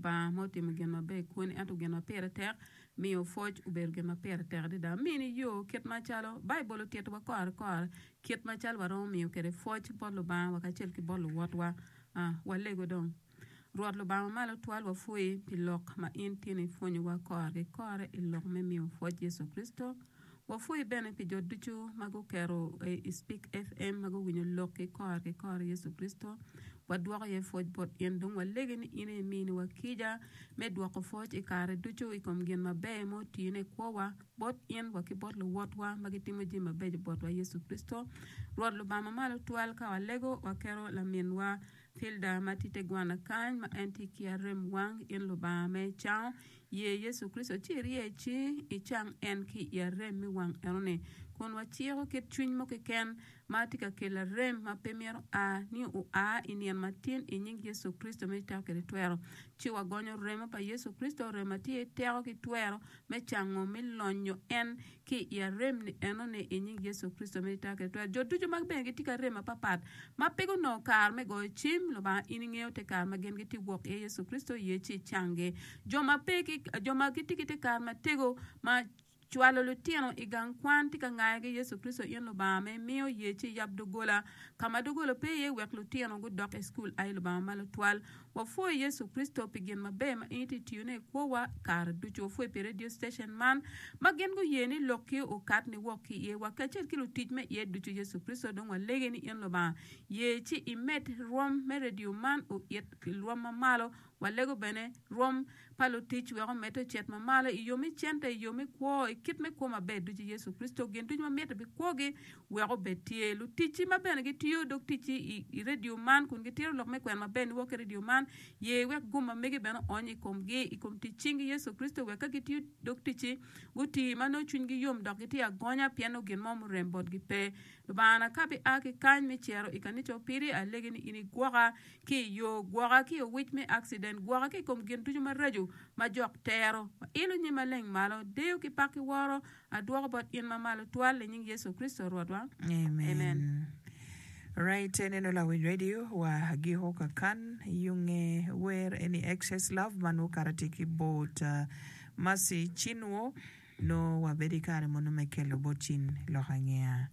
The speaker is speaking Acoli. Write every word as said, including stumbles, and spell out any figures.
Lubanga ma otimo gin maber i kwoni ento gin ma pire tek miyo pwoc obedo gin ma pire tek adada. Mini yo kit macalo Baibul otitowa kore kore kit macalo waromo miyo kwede pwoc bot Lubanga wa kacel ki bot luwotwa. Ah, walego dong. Rwot Lubanga mamalo twal wapwoyi pi lok ma in tye ni ipwonyowa kore ki kore i lok me miyo pwoc Yecu Kricito. Wapwoyi bene pi jo ducu ma guketo i Speak F M ma guwinyo lok ki kore ki kore Yecu Kricito. Wadwoko iye pwoc bot in. Dong walegi ni in aye iminiwa kica me dwoko pwoc i kare ducu i kom gin maber ma otine i kwowa bot in wa ki bot luwotwa ma gitimo jami mabeco botwa Yecu Kricito. Rwot Lubanga mamalo twal ka walego waketo laminwa Hilda ma tye te gwana kany ma en tye ki arem wang in Lubanga me cango ye Yecu Kricito ci irye ci icang en ki i arem me wang enoni kun waciko kit cwiny mo keken ma tye ka kelo arem ma pe myero a ni oa i nino matin i nying Yecu Kricito me teko kede twero ci wagonyo remo pa Yecu Kricito remo ma tye teko ki twero me cango me lonyo en ki i arem ni enoni i nying Yecu Kricito me teko kede twero jo ducu ma bene gitye ki arem mapapat ma pe gunongo kare me goyo cim Lubanga in ingeyo te kare ma gin gitye wok iye Yecu Kricito ye ci icanggi jo ma pe ki jo ma gitye ki te kare matego ma cwalo lutino i gang kwan tye ka ngayogi Yecu Kricito in Lubanga me miyo ye ci yab doggola ka ma doggola pe iye wek lutino gudok i cukul ai Lubanga malo twal wapwoyo Yecu Kricito pi gin maber ma in itye tiyone i kwowa kare ducu wapwoyo pi radio station man ma gin guye ni lokki okat ni wok ki iye wa kacel ki lutic me iye ducu Yecu Kricito dong walegi ni in Lubanga ye ci imed rwom me radio man oit rwom mamalo walego bene rwom pa lutic wek omedde ocit mamalo i yo me cente i yo me kwo i kit me kwo maber ducu Yecu Kricito gin ducu ma mitte pi kwogi wek obed tye luticci ma bene gitiyo dog ticci i, i radio man kun gitito lok me kwena maber niwok ki radio man ye wek gum ma megi bene oony i komgi i kom tic cingi Yecu Kricito wek ka gitiyo dog ticci guti ma nongo cwinygi yom dok gitye agonya pien nongo gin mo murem botgi pe Lubanga ka bia ki kany me cito i kanica opiri alegi ni in igwoka ki i yo gwoka ki i owic me accident gwoka ki i kom gin ducu maraco ma jok tero wailo nyim maleng malo deyo ki pak ki woro adwoko bot in mamalo twal i nying Yecu Kricito Rwotwa Amen. Amen. Right, eneno lawiny radio wa giko kakan yunge wer eni Excess Love man wukarati ki bot uh, Mercy Chinwo no wabedo i kare mono me kelo bot cin lok angeya.